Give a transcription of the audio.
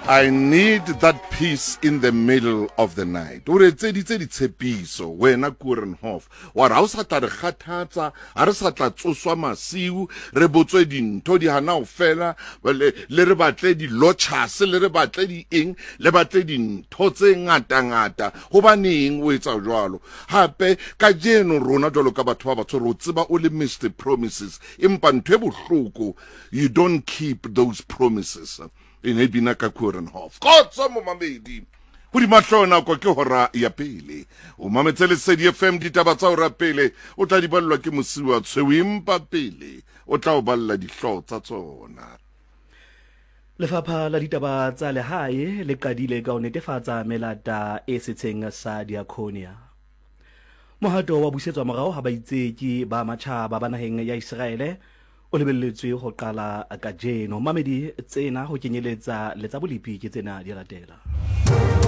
I need that peace in the middle of the night. O re etseditse ditshepiso wena Koerenhof. Wa re ha o sa tla re kgathatsa, ha re sa tla tsoswa masiu, re botswe dintho di hana ho fela, le, le re batle di-lotchas, le re batle di eng, le batle dintho tse ngata-ngata. Hobaneng o etsa jwalo? Hape kajeno rona jwalo ka batho ba batsho re o tseba o le Mr Promises, empa ntho e bohloko, you don't keep those promises. E ne e bina ka Koerenhof. Kgotso momamedi. Hodima hlooho nako ke hora ya pele. O mametse Lesedi FM ditaba tsa hora pele o tla di ballwa ke Mosiwa Tshweu empa pele o tla o balla dihlooho tsa tsona. Lefapha la ditaba tsa lehae le qadile ka ho netefatsa melata e setsheng sa Diaconia. Mohato wa busetswa morao ha baitseki ba matjhaba ba naheng ya Iseraele o lebelletswe ho qala kajeno. Mamedi tsena ho kenyeletsa le tsa bolepi ke tsena di latela.